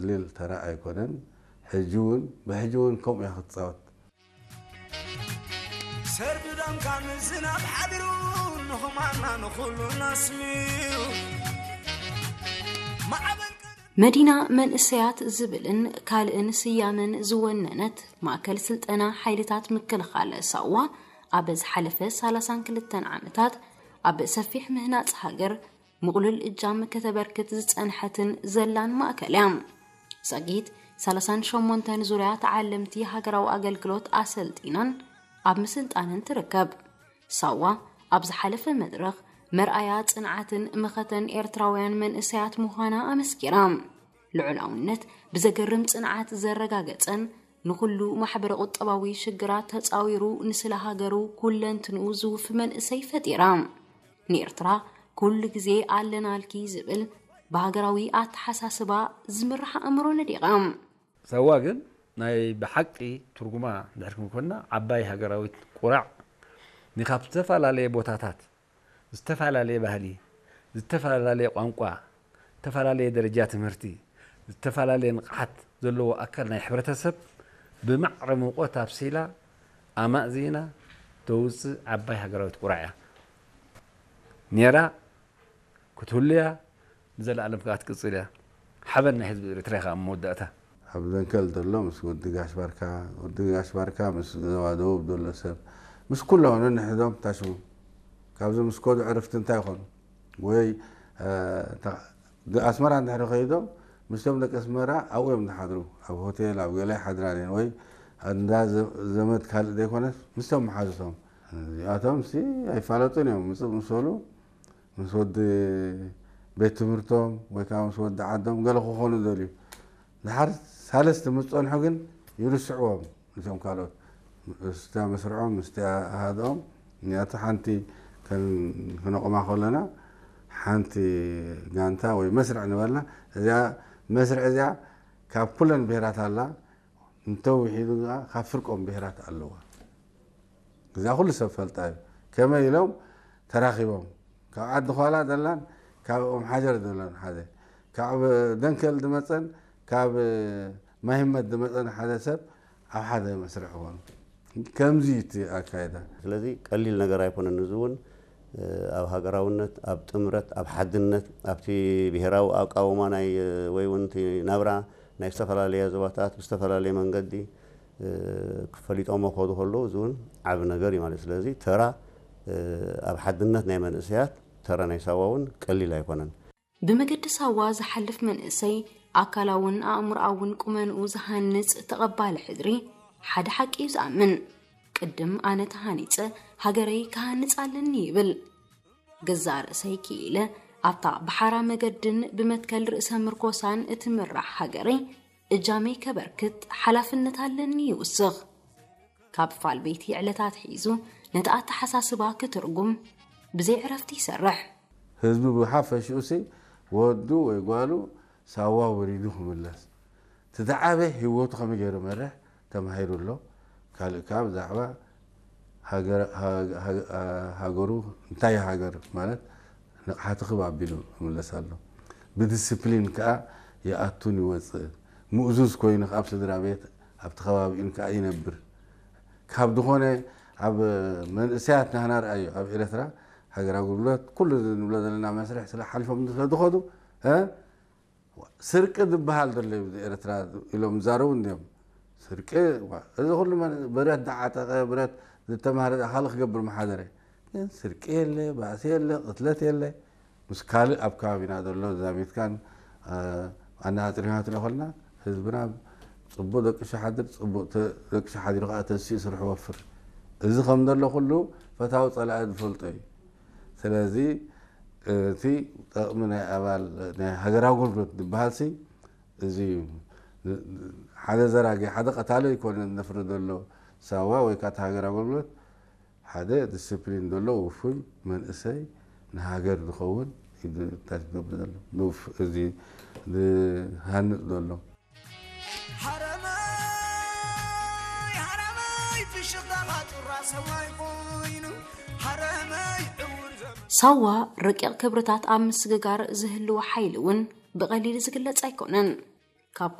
ቀሊል ተራ ኣይኮነን። ሕጂ እውን ብሕጂ እውን ከምኡ እያ ክትፃወት። ሰርቢ ደምካ ምዝናብ ሓቢሩ ንኹማና ንኹሉ ነስሚሩ ማዕበል መዲና መንእሰያት ዝብልን ካልእን ስያመን ዝወነነት ማእከል ስልጠና ሓይልታት ምክልኻል ሳዋ ኣብ ዝሓለፈ ሰላሳን ክልተን ዓመታት ኣብ ሰፊሕ ምህናጽ ሃገር ምቕሉል እጃም ከተበርክት ዝጸንሐትን ዘላን ማእከል እያ። ዛጊት ሰላሳን ሸሞንተን ዙርያ ተዓለምቲ ሃገራዊ ኣገልግሎት ኣሰልጢናን ኣብ ምስልጣንን ትርከብ። ሳዋ ኣብ ዝሓለፈ መድረኽ መርኣያ ጽንዓትን መኸተን ኤርትራውያን መንእሰያት ምዃና ኣመስኪራ። ልዑላውነት ብዘገርም ጽንዓት ዘረጋገጸን ንኹሉ ማሕበረ ቁጠባዊ ሽግራት ተጻዊሩ ንስለ ሃገሩ ኩለንትንኡ ዝውፍ መንእሰይ ፈጢራ። ንኤርትራ ኩሉ ግዜ ኣለናልኪ ዝብል ብሃገራዊ ኣተሓሳስባ ዝምራሕ ኣእምሮ ነዲቓ። ሳዋ ግን ናይ ብሓቂ ትርጉማ እንድሕር ክንኮና ዓባይ ሃገራዊት ቁራዕ ንካብ ዝተፈላለየ ቦታታት ዝተፈላለየ ባህሊ፣ ዝተፈላለየ ቋንቋ፣ ዝተፈላለየ ደረጃ ትምህርቲ፣ ዝተፈላለየ ንቕሓት ዘለዎ ኣካል ናይ ሕብረተሰብ ብማዕረ ሙቆት ኣብሲላ ኣማእዚና ተውፅእ ዓባይ ሃገራዊት ቁራዕ እያ ነይራ፣ ክትህሉ እያ፣ ንዘለኣለም ከዓ ትቅፅል እያ። ሓበን ናይ ህዝቢ ኤርትራ ኢኻ ኣብ መወዳእታ። ኣብ ዘንከል ዘሎ ምስ ወዲ ጋሽ ባርካ፣ ወዲ ጋሽ ባርካ ምስ ዞባ ደቡብ ዘሎ ሰብ፣ ምስ ኩሎም ነንሕዶም ታሽሙ ካብዚ ምስ ከዱ ዕርፍቲ እንታይ ይኾኑ? ወይ ኣስመራ እንድሕሪ ከይዶም ምስቶም ደቂ ኣስመራ ኣብኡ እዮም ዝሓድሩ። ኣብ ሆቴል ኣብ ገለ ሓድራን ወይ እንዳ ዘመድ ካልእ ዘይኮነስ ምስቶም መሓዝቶም እዚኣቶም ሲ ኣይፋለጡን እዮም። ምፅእ ምስ በሉ ምስ ወዲ ቤት ትምህርቶም ወይ ከዓ ምስ ወዲ ዓዶም ገለ ክኾኑ ደልዩ ድሓር ሳለስቲ ምስ ፀንሑ ግን ይርስዕዎም። እቶም ካልኦት ምስታ መስርዖም ምስቲ ኣሃድኦም እኒኣቶ ሓንቲ ከነቕማ ከለና ሓንቲ ጋንታ ወይ መስርዕ ንበላ እዚኣ መስርዕ እዚኣ ካብ ኩለን ብሄራት ኣላ እንተውሒዱ ከዓ ካብ ፍርቆም ብሄራት ኣለዋ። እዛ ኩሉ ሰብ ፈልጣ እዩ። ከመይ ኢሎም ተራኺቦም ካብ ዓዲ ኳላ ዘላን ካብ ኦም ሓጀር ዘላን ሓደ ካብ ደንከል ዝመፀን ካብ ማይመት ዝመፀን ሓደ ሰብ ኣብ ሓደ መስርዕ ኾኑ። ከምዚ እቲ ኣካይዳ። ስለዚ ቀሊል ነገር ኣይኮነን። እዚ እውን ኣብ ሃገራውነት፣ ኣብ ጥምረት፣ ኣብ ሓድነት፣ ኣብቲ ብሄራዊ ኣቃውማ ናይ ወይ እውን እቲ ናብራ ናይ ዝተፈላለያ ዞባታት ብዝተፈላለየ መንገዲ ክፈሊጦሞ ክኸዱ ከለዉ እዚ እውን ዓቢ ነገር እዩ ማለት እዩ። ስለዚ ተራ ኣብ ሓድነት ናይ መንእሰያት ተራ ናይ ሳዋ እውን ቀሊል ኣይኮነን። ብመገዲ ሳዋ ዝሓልፍ መንእሰይ ኣካላውን ኣእምሮኣውን ቁመንኡ ዝሃንጽ ተቐባሊ ሕድሪ ሓደ ሓቂ እዩ ዝኣምን። ቅድም ኣነ ተሃኒጸ ሃገረይ ክሃንጽ ኣለኒ ይብል። ገዛእ ርእሰይ ክኢለ ኣብታ ብሓራ መገድን ብመትከል ርእሰ ምርኮሳን እትምራሕ ሃገረይ እጃመይ ከበርክት ሓላፍነት ኣለኒ ይውስኽ። ካብ ፋል ቤቲ ዕለታት ሒዙ ነቲ ኣተሓሳስባ ክትርጉም ብዘይ ዕረፍቲ ይሰርሕ። ህዝቢ ብሓፈሽኡሲ ወዱ ወይ ጓሉ ሳዋ ወሪዱ ክምለስ ትተዓበ ህይወቱ ከመይ ገይሩ መርሕ ተማሂሩ ኣሎ። ካልእ ከዓ ብዛዕባ ሃገሩ እንታይ ሃገር ማለት ንቕሓቲ ክብ ኣቢሉ ይምለስ ኣሎ። ብዲስፕሊን ከዓ ይኣቱን ይወፅእ። ምእዙዝ ኮይኑ ኣብ ስድራ ቤት ኣብቲ ከባቢኡን ከዓ ይነብር። ካብ ዝኾነ ኣብ መንእሰያት ናህና ርኣዩ ኣብ ኤርትራ ሃገር ኣገልግሎት ኩሉ ንብሎ ዘለና መስርሕ ስለ ሓሊፎም ስለ ዝኸዱ ስርቂ ዝበሃል ዘሎ እዩ ኤርትራ ኢሎም ዝዛረቡ እንዲዮም። ስርቂ እዚ ኩሉ ብረት ዝዓጠቀ ብረት ዝተማህረ ኣካል ክገብር መሓደረ ግን ስርቂ የለ፣ ባእሲ የለ፣ ቅትለት የለ። ምስ ካልእ ኣብ ከባቢና ዘሎ ዛሚትካን ኣነፃፂርካን ክትሪኦ ከለና ህዝብና ፅቡቅ ደቂሱ ሓድር፣ ፅቡቅ ደቂሱ ሓዲሩ ከዓ ተሲኡ ስርሑ ወፍር። እዚ ከም ዘሎ ኩሉ ፈታዊ ፀላኢ ዝፈልጦ እዩ። ስለዚ እቲ ጠቕሚ ናይ ኣባል ናይ ሃገራዊ ኣገልግሎት ዝበሃል ሲ እዚ እዩ። ሓደ ዘራጊ ሓደ ቀታሊ ኣይኮነን ነፍሪ ዘሎ ሳዋ ወይ ከዓ እቲ ሃገራዊ ኣገልግሎት ሓደ ዲስፕሊን ዘሎ ውፉይ መንእሰይ ንሃገር ዝኸውን እዩ እንታይ ዝገብር ዘሎ ንውፍ እዚ ዝሃንፅ ዘሎ። ሳዋ ረቂቕ ክብርታት ኣብ ምስግጋር ዝህልዎ ሓይሊ እውን ብቐሊል ዝግለጽ ኣይኮነን።